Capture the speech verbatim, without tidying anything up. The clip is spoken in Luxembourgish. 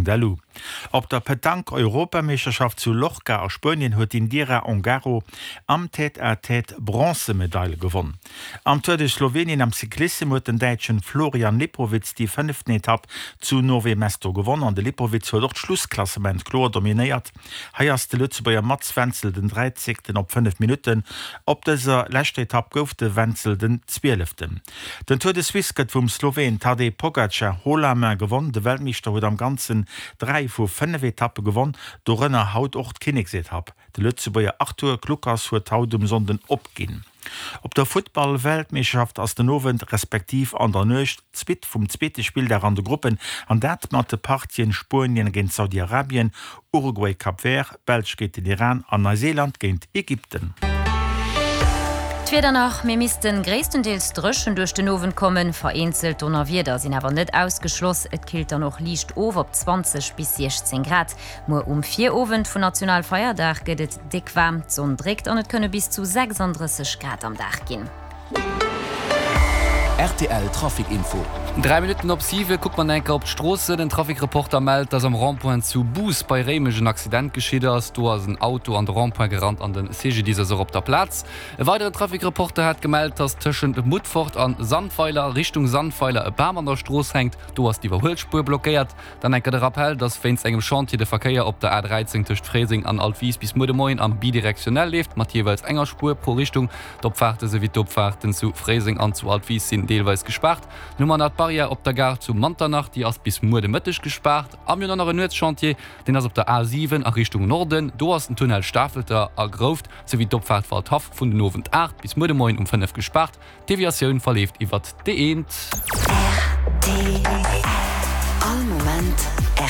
Punkt. Lu. Op der Petanque-Europameeschterschaft zu Lorca a Spuenien huet d'Indira Ongaro am Tête-à-tête d'Bronzemedail gewonn. Am Tour de Slowenien am Cyclissem huet den Däitschen Florian Lipowitz déi fënneften Etapp zu Nove Mesto gewonn an de Lipowitz huet och d'Schlussklassement kloer dominéiert. Hei ass de Lëtzebuerger Mats Wenzel den dräizéngten op fënnef Minutten. Op dëser leschter Etapp gouf de Wenzel den Zwieleften. Den Tour de Suisse gëtt vum Sloween Tadej Pogacar haut la main gewonn. De Weltmeeschter huet am Ganzen dräi vu fënnef Etappe gewonn, dorënner haut och d'Kinneksetapp. De Lëtzebuerger Arthur Kluckers huet haut um Sonnden opginn. Op der Futtball-Weltmeeschterschaft ass den Owend respektiv an der Nuecht d'Suite vum zweete Spilldag an de Gruppen an dat mat de Partien Spuenien géint Saudi-Arabien, Uruguay Cap Vert, Belsch géint den Iran an Neuseeland géint Ägypten. D'Wieder nach, Mir missten gréisstendeels dréchen duerch den Owend kommen, vereenzelt Donnerwieder sinn awer net ausgeschloss. Et killt dann och liicht of op zwanzeg bis siechzéng Grad. Muer um Virowend vun Nationalfeierdag gëtt et déck waarm, d'Sonn dréckt an et kënne bis zu sechsanddrësseg Grad am Dag ginn. R T L Trafic Info. Dräi Minutten op siwe kucke mer enker op d'Stroossen. Den Trafic-Reporter mellt, dass am Rond-point zu Bous bei Réimech en Accident geschitt ass. Do ass en Auto an de Rond-point gerannt an de C G D I S ass och op der Plaz. E weideren Trafic-Reporter hat gemellt, dass tëschent Mutfert an Sandweiler Richtung Sandweiler e Bam an der Strooss hänkt. Do ass d'Iwwerhuelspuer blockéiert. Dann enker de Rappell, dass wéinst engem Chantier de Verkéier op der A dräizéng tëscht Fréiseng an Altwis bis muer de Moien am bidirektionell leeft, mat jeeweils enger Spuer pro Richtung. D'Opfaarte souwéi d'Offaarten zu Fréiseng an zu Altwis sinn deelweis gespaart. Dann hu mer nach d'Barrière op der Gare zu Manternach, déi ass bis muer de Mëtteg gespaart. A mir hunn och nach en Nuetschantier, deen ass op der A siwen a Richtung Norden. Do ass den Tunnel Stafelter a Grouft souwéi d'Opfaart Waldhaff vun den Owend aacht bis muer de Moien um fënnef gespaart. D'Deviatioun verleeft iwwert d'E eent. R T L All Moment.